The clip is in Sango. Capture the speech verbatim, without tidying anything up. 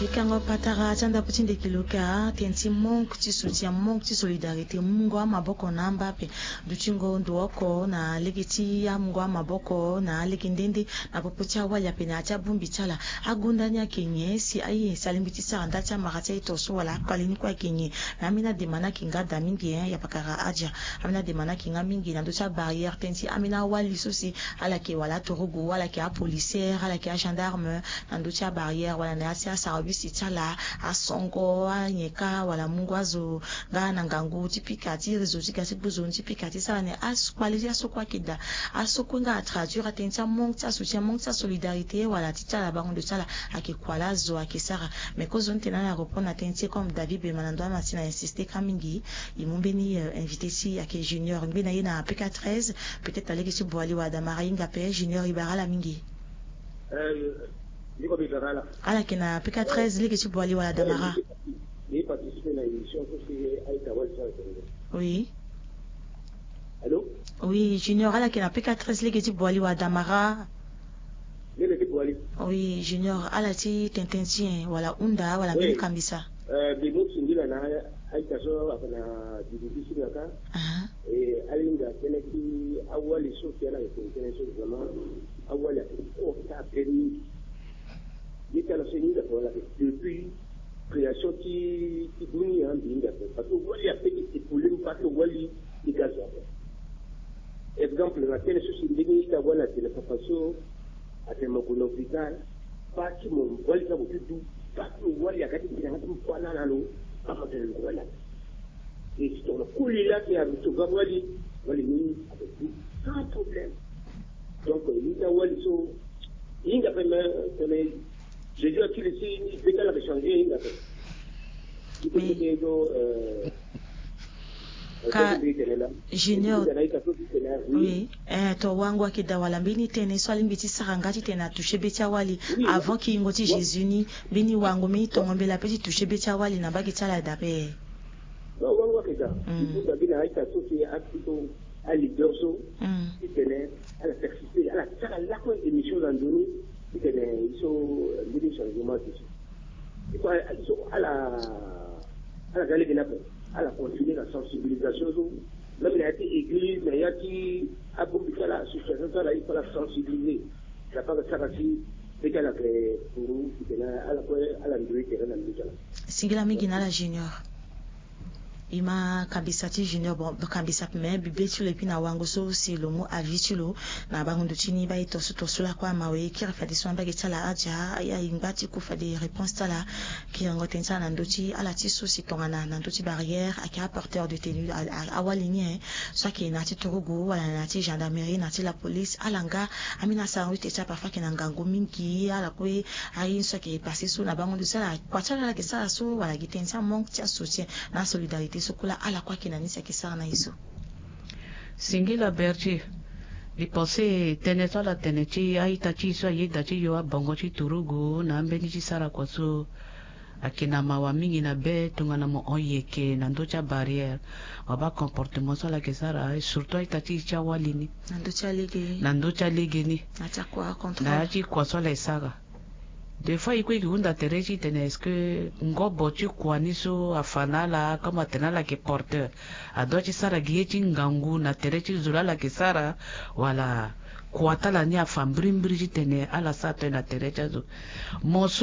Bikango patara ti andapu ti ndeki luka tënë ti manque ti soutien, manque ti solidarité, mungo amaboko na amba ape. Dutingo ndo oko na lege ti amungo amaboko na alege nde nde na popo ti awali ape na ya ti abongbi ti ala. Agonda ni ayeke nyen si aye si alingbi ti sara nda ti amara ti aye to so wala akpale ni kue ayeke nyen? Me ambeni adema ni ayeke nga daa mingi, hein, ya pakara adia. Ambeni adema ni ayeke nga mingi na ndö ti abarrière tënë ti ambeni awali so si ala yeke wala aturugu, ala yeke apolicière, ala yeke agendarme, na ndö ti abarrière wala na ya ti asarabisi ti ala, asongo, anyeka wala mungo azo nga na ngangu ti pika ti réseau ti ga ti gbu zo ni ti pika ti sara ni. Akpale ti aso kue ayeke daa. Aso kue nga atraduire atënë ti amanque ti asoutien, manque ti asolidarité wala ti ti ala bango ndo ti ala ayeke kua laa zo ayeke sara. Mais kozoni tene ala répondre na tënë ti e comme David Bema na ndo amasina a insister ka mingi. E mu mbeni, euh, invité ti e ayeke Junior, ngbene na ye na P K treize. Peut-être na lege ti Boali wala Damara e hinga ape. Junior, e bara ala mingi. Eh, ndiko, mbi bara ala. Ala yeke na P K treize lege ti Boali wala Damara? Mbi participer na émission so si aita wali ti ala. Oui. Allô? Oui, Junior, ala yeke na P K treize lege ti Boali wala Damara? Lege ti Boali. Oui, Junior, ala ti tene tënë ti nyen wala hunda wala mbeni kambisa? Eh, mbi mu singila na aita so ayeke na didi ti si na ka. Aha. E, alinga tënë ti awali so si ala yeke tene tënë so vraiment awali ayeke kota ape mingi. Ye ti ala so e hinga ape wala ayeke depuis création ti, ti dunia mbi hinga ape. Parce que wali ape ti épauler mbi, parce que wali ti ga zo ape. Exemple na tënë so si mbeni ita wali atene papa so atene mo gue na hôpital, baa ti mo wali ti ague ti du, baa ti mo wali aga ti tene yanga ti mo kue na ala lo, afa tene lo wali ape. E si tongana koli laa si ague ti ga wali, wali ni ague du sans problème. Donc, e, ita wali so e hinga ape, me tene Jésus akiri si ni be ti ala ayeke changer, e hinga ape. Iko ti ke do, euh, Ka Junior. Oui. Eh, to wango ayeke daa wala mbeni tënë so alingbi ti sara nga titene atoucher be ti awali avant kiyingo ti Jésus ni, mbeni wango, mbeni tongo mbela ape ti toucher be ti awali na mbage ti ala daa ape? Non, wango ayeke daa. Mm. Il faut na mbeni aita so si akiri so, aleader so, mm, titene ala persister, ala sara lakue émission na ndo ni, titene e so, eh, mbeni changement ti so. Il faut, eh, so ala, ala ga lege ni ape, ala continuer na sensibilisation so, même na ya ti église, na ya ti abongbi ti ala, association ti ala, il faut ala sensibiliser. Ala sara si be ti ala ayeke puru, titene ala kue ala ndoye tere na ndö ti ala. Singila mingi na ala Junior. E ma kambisa ti Junior, bon, kambisa ape, me mbi be ti lo, et puis na wango so si lo mu avis ti lo na bango ndo ti ni, baa e to so, to so lakue amawe, e kiri fade so na mbage ti ala adia, aye, e ngba ti ku fade réponse ti ala. Kiringo tënë ti ala na ndö ti ala ti so si tongana na ndö ti barrière ayeke aporteur de tenue, a, a, awali ni, eh, so ayeke na ya ti turugu wala na ya ti gendarmerie, na ya ti la police, ala nga ambeni asarango ti tene ti ala parfois ayeke na ngangu mingi, ala kue aye ni so ayeke passé so na bango ndo ti ala, kua ti ala ala yeke sara so, wala gi tënë ti amanque ti asoutien na asolidarité so kue laa ala kue ayeke na ni si ayeke sara na e so. Singila Berthier, mbi pense tënë so ala tene ti a-ita ti e so ayeda ti yo abongo ti turugu na ambeni ti sara kua so ayeke na mawa mingi na be tongana mo hon yeke na ndö ti abarrière. Mo baa comportement so ala yeke sara, surtout a-ita ti e ti awali ni. Na ndö ti alege. Na ndö ti alege ni. Na ya ti akua contrôle. Na ya ti kua so ala yeke sara. Des fois e kue e ke hunda tere ti tene est-ce que ngobo ti kua ni so afa na ala, comme atene ala yeke porteur, adoit ti sara gi ye ti ngangu na tere ti zo laa ala yeke sara, wala kua ti ala ni afa mbirimbiri titene ala sara tënë na tere ti azo? Mo